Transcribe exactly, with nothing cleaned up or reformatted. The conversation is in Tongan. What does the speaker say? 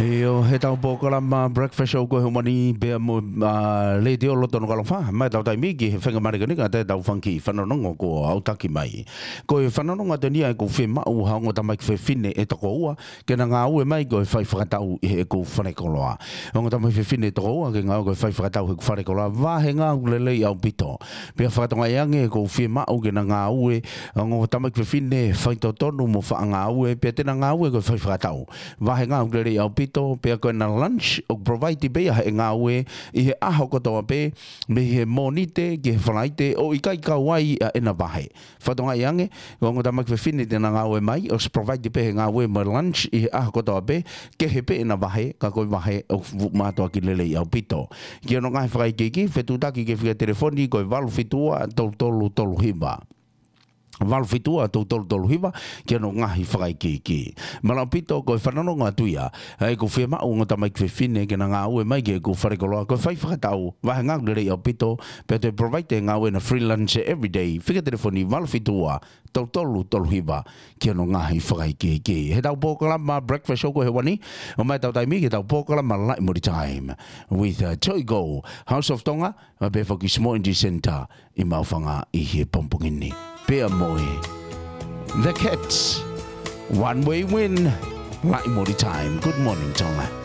ʻIo, heʻetau polokalama Breakfast Show ko e hū mai ni pea mo, ā, Letiō Loto Nukuʻalofa, maʻa ʻetau taimi ki he fenga malekeleka ʻetau fanga kiʻi fanongonongo kuo aʻutaki mai. Ko e fanongonongo atu eni ʻa ʻeku fiemaʻu ha ongo tamaiki fefine ʻe toko ua, ke na ngāue mai ko e fai fakatau ʻi heʻeku falekoloa. Ongo tamaiki fefine ʻe toko ua ke ngāue ko e fai fakatau heʻeku falekoloa, vāhenga ʻoku lelei ʻaupito. Pea fakatokangaʻi ange ʻoku ou fiemaʻu ke na ngāue, ongo tamaiki fefine faitotonu mo faʻa ngāue, pea te na ngāue ko e fai fakatau. Vāhenga ʻoku lelei ʻaupito, pea ko ʻena lunch, ʻoku provide pē ia heʻene ngāue, ʻi he ʻaho kotoa pē, mei he Mōnite ki he Falaite, ʻo ʻikai kau ai ʻa ʻena vahe. Fakatokangaʻi ange, ko e ongo tamaiki fefine te na ngāue mai, ʻosi provide pē he ngāue mo e lunch ʻi he ʻaho kotoa pē, kehe pē ʻena vahe, ka ko e vahe ʻoku mātuʻaki lelei ʻaupito. Ki hono ngaahi fakaikiiki, fetuʻutaki ki he fika telefoni ko e valu fitu ua tolu tolu tolu hiva. Valu fitu ua tolu tolu tolu hiva, ki hono ngaahi fakaikiiki. Mālō ʻaupito ko e fanongonongo atu ia, ʻa ʻeku fiemaʻu ongo tamaiki fefine ke na ngāue mai ki heʻeku falekoloa, ko e fai fakatau, vāhenga ʻoku lelei ʻaupito, pea te provide e ngāue ʻena freelance everyday, fika telefoni valu fitu ua tolu tolu tolu hiva, ki hono ngaahi fakaikiiki. Heʻetau polokalama Breakfast Show ko e hū mai ni, ʻo maʻa ʻetau taimi ki heʻetau polokalama Laʻi Moli Time. With, uh, Joy Go, House of Tonga, ʻa pē foki Small Energy Center ʻi Maʻufanga ʻi he pongipongi ni. Pea mo e The Cats, One Way Win, Laʻi Moli Time. Good morning, Tonga.